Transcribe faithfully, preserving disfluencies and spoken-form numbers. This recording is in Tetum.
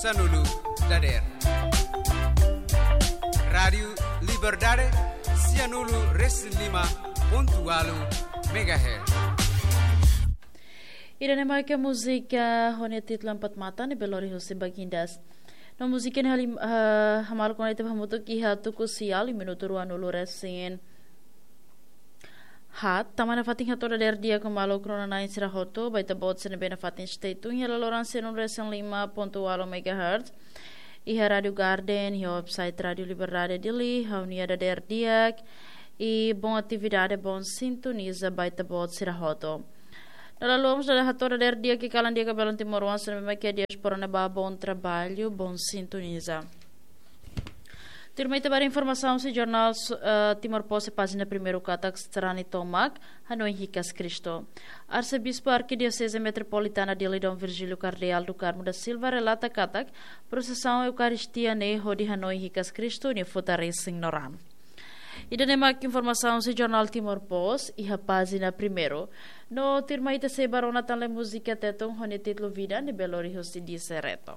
sanulu dadeer. Rádiu Liberdade, sianulu resin lima pontu walu megahertz. Ida-ne'e mak múzika ho nia títulu Empat Mata ne'ebé lori husi Bagindas. No múzika ne'e halim, ah, hamaluk ona ita hamutuk iha tuku sia, minutu ruanulu resin haat. Tama nafatin hato'o dadeer di'ak ho maluk rona-na'in sira hotu ba ita-boot sira ne'ebé nafatin stay tune iha laloran sianulu resin lima pontu walu megahertz. Iha Rádiu Garden, iha website Rádiu Liberdade Dili, ha'u-nia dadeer di'ak i bom atividade, bom sintoniza ba ita-boot sira hotu. No lalomos dada hato'o dadeer di'ak i kalan di'ak ba belun timoroan sira ne'ebé mak iha diáspora ne'ebá, bom trabalho, bom sintoniza. Tuirmai ita ba informasaun husi jornál, eh, Timor Post iha pájina primeiru katak sarani tomak, hanoin hikas Kristu. Arsebispu Arkidioseze Metropolitana Dili Dom Virgílio Cardeal do Carmo da Silva relata katak prosesaun Eukaristia ne'e hodi hanoin hikas Kristu nia futar resin no raan. Ida-ne'e mak informasaun husi jornál Timor Post iha pájina primeiru. No tuirmai ita sei bá rona tan lai múzika Tetun ho nia títulu Vida ne'ebé lori husi Dise Reto.